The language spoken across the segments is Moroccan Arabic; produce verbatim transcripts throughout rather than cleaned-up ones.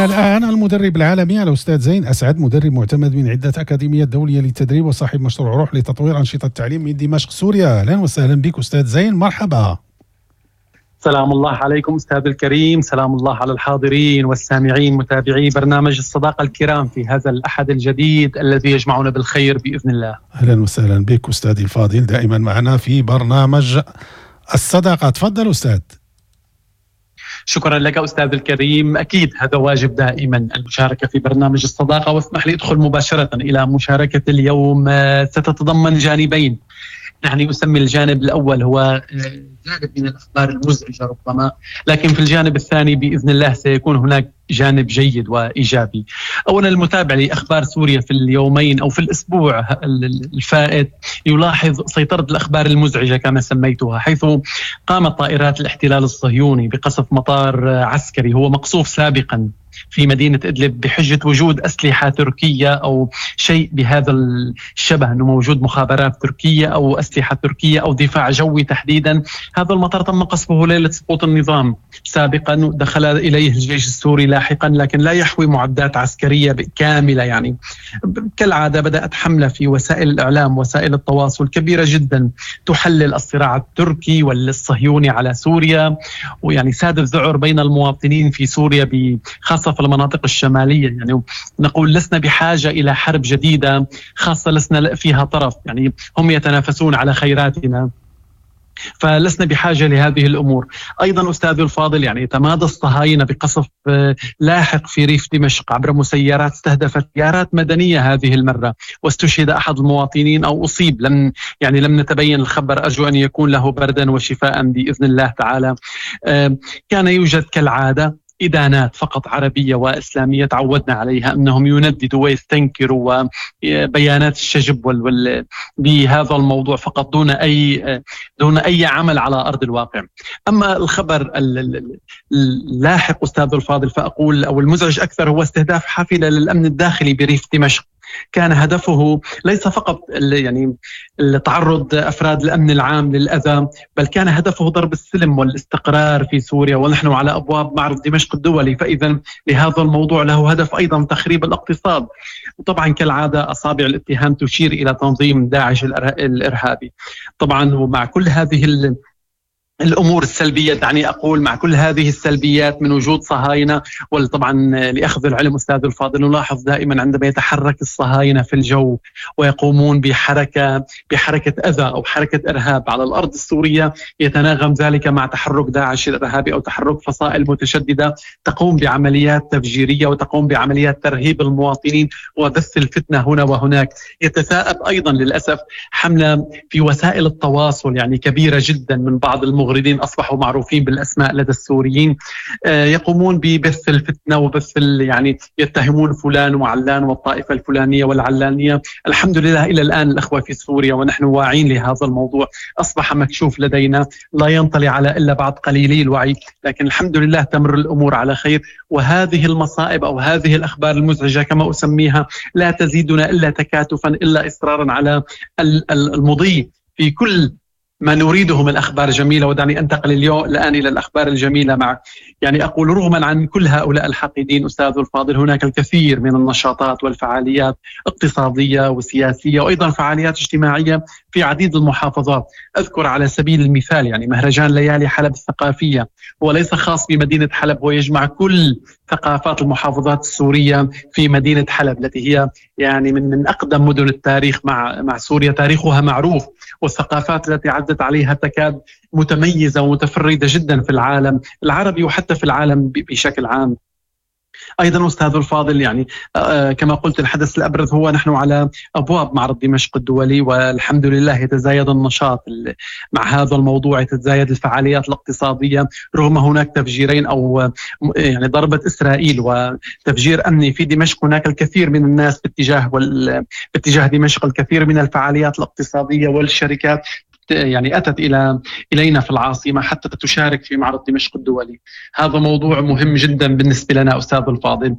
معنا الآن المدرب العالمي الأستاذ زين أسعد، مدرب معتمد من عدة أكاديميات دولية للتدريب وصاحب مشروع روح لتطوير أنشطة التعليم من دمشق سوريا. أهلا وسهلا بك أستاذ زين، مرحبا. سلام الله عليكم أستاذ الكريم، سلام الله على الحاضرين والسامعين متابعي برنامج الصداقة الكرام في هذا الأحد الجديد الذي يجمعنا بالخير بإذن الله. أهلا وسهلا بك أستاذي الفاضل، دائما معنا في برنامج الصداقة. تفضل أستاذ. شكرا لك أستاذ الكريم، أكيد هذا واجب دائما المشاركة في برنامج الصداقة، واسمح لي أدخل مباشرة إلى مشاركة اليوم. ستتضمن جانبين، يعني أسمي الجانب الأول هو جانب من الأخبار المزعجة ربما، لكن في الجانب الثاني بإذن الله سيكون هناك جانب جيد وإيجابي. أولا، المتابع لأخبار سوريا في اليومين أو في الأسبوع الفائت يلاحظ سيطرة الأخبار المزعجة كما سميتها، حيث قامت طائرات الاحتلال الصهيوني بقصف مطار عسكري هو مقصوف سابقا في مدينة إدلب بحجة وجود أسلحة تركية أو شيء بهذا الشبه، أنه موجود مخابرات تركية أو أسلحة تركية أو دفاع جوي تحديدا. هذا المطار تم قصفه ليلة سقوط النظام سابقا، دخل إليه الجيش السوري لاحقا، لكن لا يحوي معدات عسكرية كاملة. يعني كالعادة بدأت حملة في وسائل الإعلام وسائل التواصل كبيرة جدا تحلل الصراع التركي والصهيوني على سوريا، ويعني ساد الذعر بين المواطنين في سوريا خاصة في المناطق الشمالية. يعني نقول لسنا بحاجة إلى حرب جديدة، خاصة لسنا فيها طرف، يعني هم يتنافسون على خيراتنا، فلسنا بحاجة لهذه الأمور. أيضا أستاذ الفاضل، يعني تمادى الصهاينة بقصف لاحق في ريف دمشق عبر مسيرات استهدفت سيارات مدنية هذه المرة، واستشهد أحد المواطنين أو أصيب، لم يعني لم نتبين الخبر، أرجو أن يكون له بردا وشفاء بإذن الله تعالى. كان يوجد كالعادة إدانات فقط عربية وإسلامية تعودنا عليها، أنهم ينددوا ويستنكروا وبيانات الشجب وال وال بهذا الموضوع فقط دون أي دون أي عمل على أرض الواقع. أما الخبر اللاحق أستاذ الفاضل فأقول أو المزعج أكثر هو استهداف حافلة للأمن الداخلي بريف دمشق. كان هدفه ليس فقط يعني تعرض أفراد الأمن العام للأذى، بل كان هدفه ضرب السلم والاستقرار في سوريا، ونحن على أبواب معرض دمشق الدولي، فإذا لهذا الموضوع له هدف أيضا تخريب الاقتصاد. وطبعا كالعادة أصابع الاتهام تشير إلى تنظيم داعش الإرهابي. طبعا ومع كل هذه ال الأمور السلبية، دعني أقول مع كل هذه السلبيات من وجود صهاينة، وطبعا لأخذ العلم أستاذ الفاضل نلاحظ دائما عندما يتحرك الصهاينة في الجو ويقومون بحركة بحركة أذى أو حركة إرهاب على الأرض السورية، يتناغم ذلك مع تحرك داعش الإرهابي أو تحرك فصائل متشددة تقوم بعمليات تفجيرية وتقوم بعمليات ترهيب المواطنين وبث الفتنة هنا وهناك. يتثاءب أيضا للأسف حملة في وسائل التواصل يعني كبيرة جدا من بعض المغرضين أصبحوا معروفين بالأسماء لدى السوريين، يقومون ببث الفتنة وبث يعني يتهمون فلان وعلان والطائفة الفلانية والعلانية. الحمد لله إلى الآن الأخوة في سوريا ونحن واعين لهذا الموضوع، أصبح مكشوف لدينا، لا ينطلي على إلا بعض قليلي الوعي، لكن الحمد لله تمر الأمور على خير. وهذه المصائب أو هذه الأخبار المزعجة كما أسميها لا تزيدنا إلا تكاتفا، إلا إصرارا على المضي في كل ما نريده من أخبار جميلة. ودعني أنتقل اليوم الآن إلى الأخبار الجميلة مع يعني أقول رغما عن كل هؤلاء الحاقدين أستاذ الفاضل، هناك الكثير من النشاطات والفعاليات اقتصادية وسياسية وأيضا فعاليات اجتماعية في عديد المحافظات. أذكر على سبيل المثال يعني مهرجان ليالي حلب الثقافية، هو ليس خاص بمدينة حلب، هو يجمع كل ثقافات المحافظات السورية في مدينة حلب التي هي يعني من من أقدم مدن التاريخ مع مع سوريا، تاريخها معروف والثقافات التي عدت عليها تكاد متميزة ومتفردة جدا في العالم العربي وحتى في العالم بشكل عام. أيضا أستاذ الفاضل يعني كما قلت الحدث الأبرز هو نحن على أبواب معرض دمشق الدولي، والحمد لله يتزايد النشاط مع هذا الموضوع، يتزايد الفعاليات الاقتصادية رغم هناك تفجيرين أو يعني ضربة إسرائيل وتفجير أمني في دمشق. هناك الكثير من الناس باتجاه وال... باتجاه دمشق، الكثير من الفعاليات الاقتصادية والشركات يعني أتت إلى إلينا في العاصمة حتى تشارك في معرض دمشق الدولي. هذا موضوع مهم جدا بالنسبة لنا أستاذ الفاضل.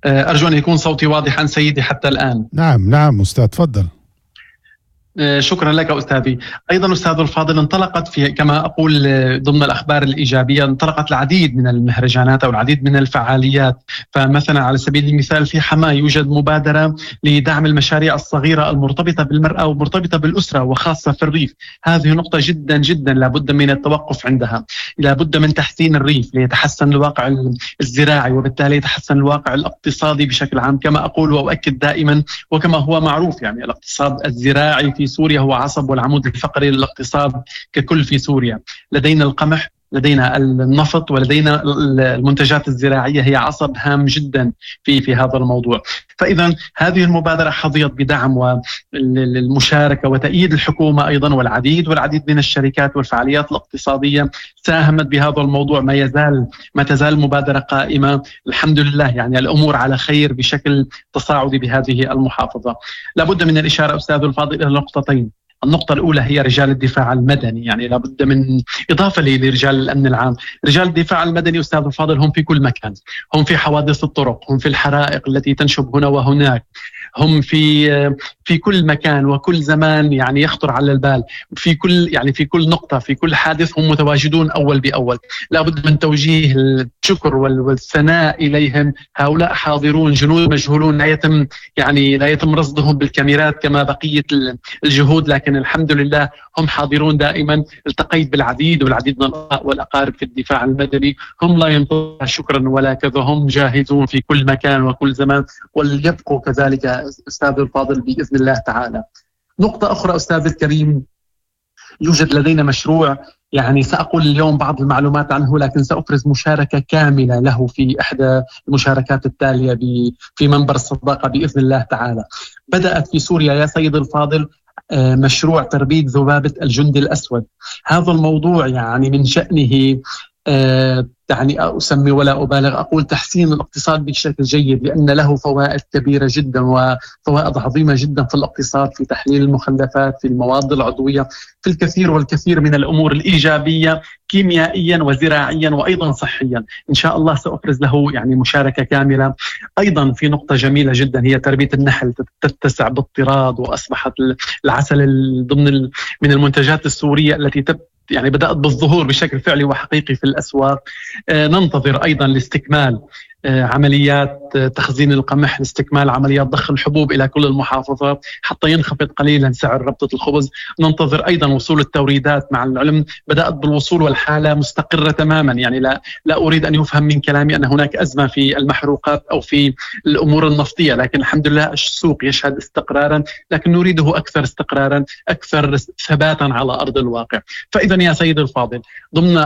أرجو أن يكون صوتي واضحا سيدي حتى الآن. نعم نعم أستاذ تفضل. شكرا لك أستاذي. أيضا أستاذ الفاضل، انطلقت في كما أقول ضمن الأخبار الإيجابية انطلقت العديد من المهرجانات أو العديد من الفعاليات. فمثلا على سبيل المثال في حماة يوجد مبادرة لدعم المشاريع الصغيرة المرتبطة بالمرأة ومرتبطة بالأسرة وخاصة في الريف. هذه نقطة جدا جدا لابد من التوقف عندها، لابد من تحسين الريف ليتحسن الواقع الزراعي وبالتالي يتحسن الواقع الاقتصادي بشكل عام. كما أقول وأؤكد دائما وكما هو معروف، يعني الاقتصاد الزراعي في سوريا هو عصب والعمود الفقري للاقتصاد ككل في سوريا. لدينا القمح، لدينا النفط، ولدينا المنتجات الزراعية هي عصب هام جدا في في هذا الموضوع. فإذا هذه المبادرة حظيت بدعم والمشاركة وتأييد الحكومة أيضا، والعديد والعديد من الشركات والفعاليات الاقتصادية ساهمت بهذا الموضوع. ما يزال ما تزال المبادرة قائمة الحمد لله، يعني الأمور على خير بشكل تصاعدي بهذه المحافظة. لابد من الإشارة أستاذ الفاضل إلى نقطتين. النقطة الأولى هي رجال الدفاع المدني، يعني لابد من إضافة لرجال الأمن العام. رجال الدفاع المدني أستاذ الفاضل هم في كل مكان، هم في حوادث الطرق، هم في الحرائق التي تنشب هنا وهناك، هم في في كل مكان وكل زمان يعني يخطر على البال، في كل يعني في كل نقطة، في كل حادث هم متواجدون أول بأول. لابد من توجيه الشكر والثناء إليهم. هؤلاء حاضرون، جنود مجهولون، لا يتم يعني لا يتم رصدهم بالكاميرات كما بقية الجهود، لكن الحمد لله هم حاضرون دائما. التقيت بالعديد والعديد من والأقارب في الدفاع المدني، هم لا ينتظرون شكرا ولا كذا، هم جاهزون في كل مكان وكل زمان، وليبقوا كذلك أستاذ الفاضل بإذن الله تعالى. نقطة أخرى أستاذ الكريم، يوجد لدينا مشروع يعني سأقول اليوم بعض المعلومات عنه، لكن سأفرز مشاركة كاملة له في إحدى المشاركات التالية في منبر الصداقة بإذن الله تعالى. بدأت في سوريا يا سيد الفاضل مشروع تربية ذبابة الجندي الأسود. هذا الموضوع يعني من شأنه يعني أسمي ولا أبالغ، أقول تحسين الاقتصاد بشكل جيد، لأن له فوائد كبيرة جدا وفوائد عظيمة جدا في الاقتصاد، في تحليل المخلفات، في المواد العضوية، في الكثير والكثير من الأمور الإيجابية كيميائيا وزراعيا وأيضا صحيا. إن شاء الله سأفرز له يعني مشاركة كاملة. أيضا في نقطة جميلة جدا هي تربية النحل، تتسع باضطراد، وأصبحت العسل ضمن من المنتجات السورية التي تبدأ يعني بدأت بالظهور بشكل فعلي وحقيقي في الأسواق. ننتظر أيضا لاستكمال عمليات تخزين القمح، لاستكمال عمليات ضخ الحبوب إلى كل المحافظات حتى ينخفض قليلا سعر ربطة الخبز. ننتظر أيضا وصول التوريدات، مع العلم بدأت بالوصول والحالة مستقرة تماما. يعني لا, لا أريد أن يفهم من كلامي أن هناك أزمة في المحروقات أو في الأمور النفطية، لكن الحمد لله السوق يشهد استقرارا، لكن نريده أكثر استقرارا، أكثر ثباتا على أرض الواقع. فإذا يا سيد الفاضل، ضمن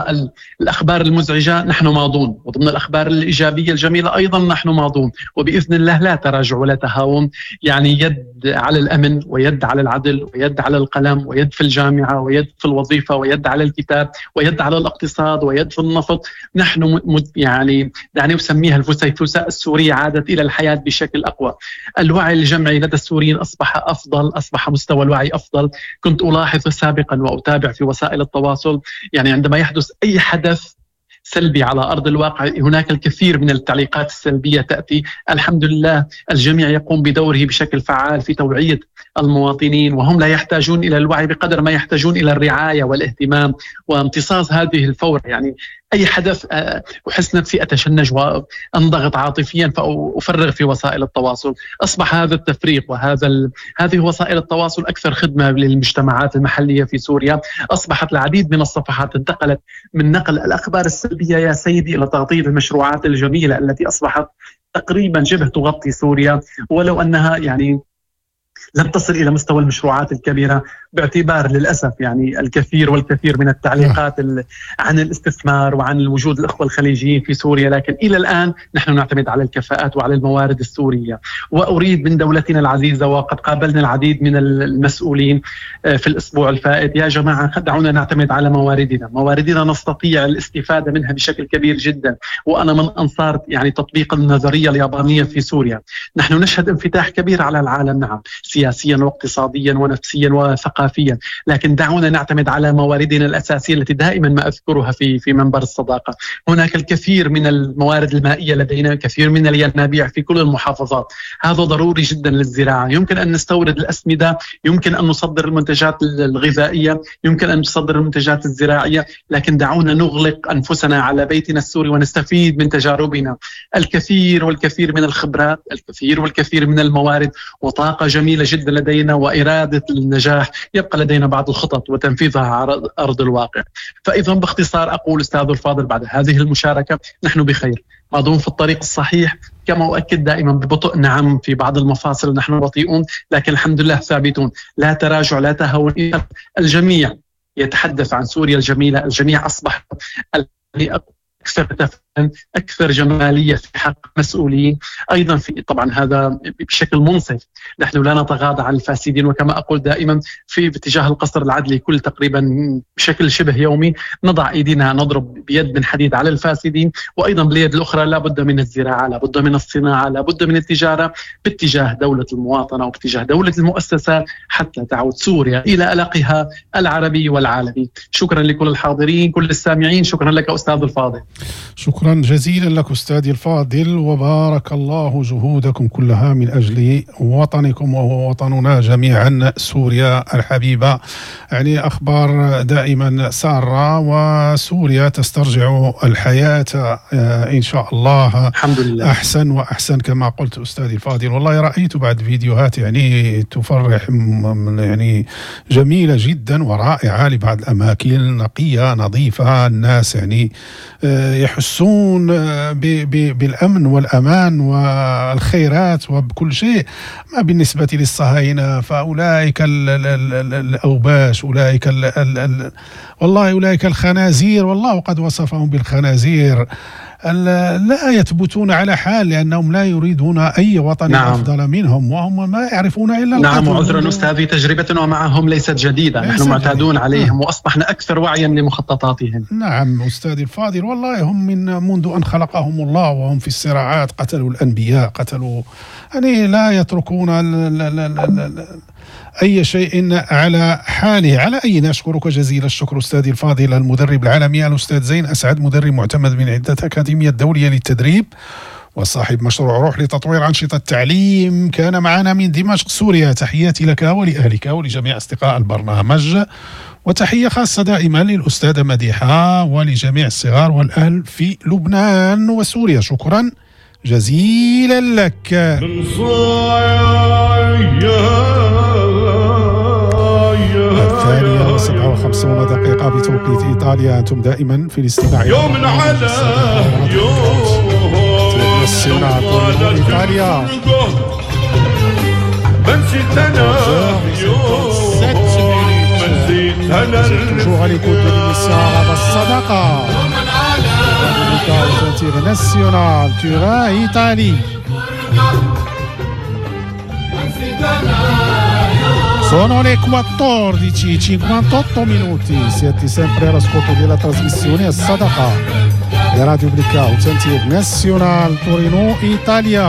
الأخبار المزعجة نحن ماضون، وضمن الأخبار الإيجابية الجميلة أيضا نحن ماضون، وبإذن الله لا تراجع ولا تهاون. يعني يد على الأمن، ويد على العدل، ويد على القلم، ويد في الجامعة، ويد في الوظيفة، ويد على الكتاب، ويد على الاقتصاد، ويد في النفط. نحن يعني دعني أسميها الفسيفساء السورية عادت إلى الحياة بشكل أقوى. الوعي الجمعي لدى السوريين أصبح أفضل، أصبح مستوى الوعي أفضل. كنت ألاحظ سابقا وأتابع في وسائل التواصل، يعني عندما يحدث أي حدث سلبي على أرض الواقع هناك الكثير من التعليقات السلبية تأتي. الحمد لله الجميع يقوم بدوره بشكل فعال في توعية المواطنين، وهم لا يحتاجون إلى الوعي بقدر ما يحتاجون إلى الرعاية والاهتمام وامتصاص هذه الفورة. يعني أي حدث أحس نفسي أتشنج وأنضغط عاطفيا فأفرغ في وسائل التواصل. أصبح هذا التفريق وهذا ال... هذه وسائل التواصل أكثر خدمة للمجتمعات المحلية في سوريا. أصبحت العديد من الصفحات انتقلت من نقل الأخبار السلبية يا سيدي إلى تغطية المشروعات الجميلة التي أصبحت تقريبا شبه تغطي سوريا، ولو أنها يعني لم تصل إلى مستوى المشروعات الكبيرة، باعتبار للأسف يعني الكثير والكثير من التعليقات عن الاستثمار وعن الوجود الأخوة الخليجيين في سوريا، لكن إلى الآن نحن نعتمد على الكفاءات وعلى الموارد السورية. وأريد من دولتنا العزيزة، وقد قابلنا العديد من المسؤولين في الأسبوع الفائت، يا جماعة دعونا نعتمد على مواردنا، مواردنا نستطيع الاستفادة منها بشكل كبير جدا. وأنا من أنصار يعني تطبيق النظرية اليابانية في سوريا. نحن نشهد انفتاح كبير على العالم، نعم، سياسيا واقتصاديا ونفسيا وثقافيا وثقافيا، لكن دعونا نعتمد على مواردنا الأساسية التي دائما ما أذكرها في في منبر الصداقة. هناك الكثير من الموارد المائية لدينا، كثير من الينابيع في كل المحافظات، هذا ضروري جدا للزراعة. يمكن أن نستورد الأسمدة، يمكن أن نصدر المنتجات الغذائية، يمكن أن نصدر المنتجات الزراعية، لكن دعونا نغلق أنفسنا على بيتنا السوري ونستفيد من تجاربنا. الكثير والكثير من الخبرات، الكثير والكثير من الموارد، وطاقة جميلة جدا لدينا وإرادة النجاح. يبقى لدينا بعض الخطط وتنفيذها على أرض الواقع. فإذا باختصار أقول أستاذ الفاضل بعد هذه المشاركة نحن بخير، ماضون في الطريق الصحيح، كما أؤكد دائما ببطء، نعم في بعض المفاصل نحن بطيئون، لكن الحمد لله ثابتون، لا تراجع لا تهاون. الجميع يتحدث عن سوريا الجميلة، الجميع أصبح أكثر تفاهم، أكثر جمالية في حق مسؤولين أيضا، في طبعا هذا بشكل منصف، نحن لا نتغاضى عن الفاسدين، وكما أقول دائما في اتجاه القصر العدلي كل تقريبا بشكل شبه يومي نضع أيدينا، نضرب بيد من حديد على الفاسدين، وأيضا باليد الأخرى لا بد من الزراعة، لا بد من الصناعة، لا بد من التجارة باتجاه دولة المواطنة وباتجاه دولة المؤسسات حتى تعود سوريا إلى ألقها العربي والعالمي. شكرا لكل الحاضرين، كل السامعين، شكرا لك أستاذ الفاضل. شكرا جزيلا لك أستاذي الفاضل، وبارك الله جهودكم كلها من أجل وطنكم وهو وطننا جميعا سوريا الحبيبة. يعني أخبار دائما سارة، وسوريا تسترجع الحياة إن شاء الله الحمد لله أحسن وأحسن كما قلت أستاذي الفاضل. والله رأيت بعد فيديوهات يعني تفرح، يعني جميلة جدا ورائعة لبعض الأماكن، نقية نظيفة، الناس يعني يحسون بالأمن والأمان والخيرات وبكل شيء. ما بالنسبة للصهاينة فأولئك الأوباش، أولئك ال ال ال والله أولئك الخنازير، والله قد وصفهم بالخنازير، لا يثبتون على حال لأنهم لا يريدون أي وطن نعم. أفضل منهم، وهم ما يعرفون إلا نعم. وعذرا أستاذي، تجربتنا معهم ليست جديدة، نحن معتادون عليهم نعم. وأصبحنا أكثر وعيا لمخططاتهم. نعم أستاذي الفاضل، والله هم من منذ أن خلقهم الله وهم في الصراعات، قتلوا الأنبياء، قتلوا، يعني لا يتركون ال ال ال ال أي شيء على حاله. على أي نشكرك جزيل الشكر أستاذي الفاضل المدرب العالمي الأستاذ زين أسعد، مدرب معتمد من عدة أكاديمية دولية للتدريب وصاحب مشروع روح لتطوير أنشطة التعليم، كان معنا من دمشق سوريا. تحياتي لك ولأهلك ولجميع أصدقاء البرنامج، وتحية خاصة دائما للأستاذة مديحة ولجميع الصغار والأهل في لبنان وسوريا. شكرا جزيلا لك. الثانية وسبعة وخمسون دقيقة بتوقيت إيطاليا، أنتم دائما في الاستماع يوم على يوم إيطاليا. Toujours à l'écoute de l'émission Arabe Sadaqa, International Turin, Italie. Sono le quattordici e cinquantotto minuti, siete sempre all'ascolto della trasmissione Sadaqa di Radio Blackout International Torino Italia.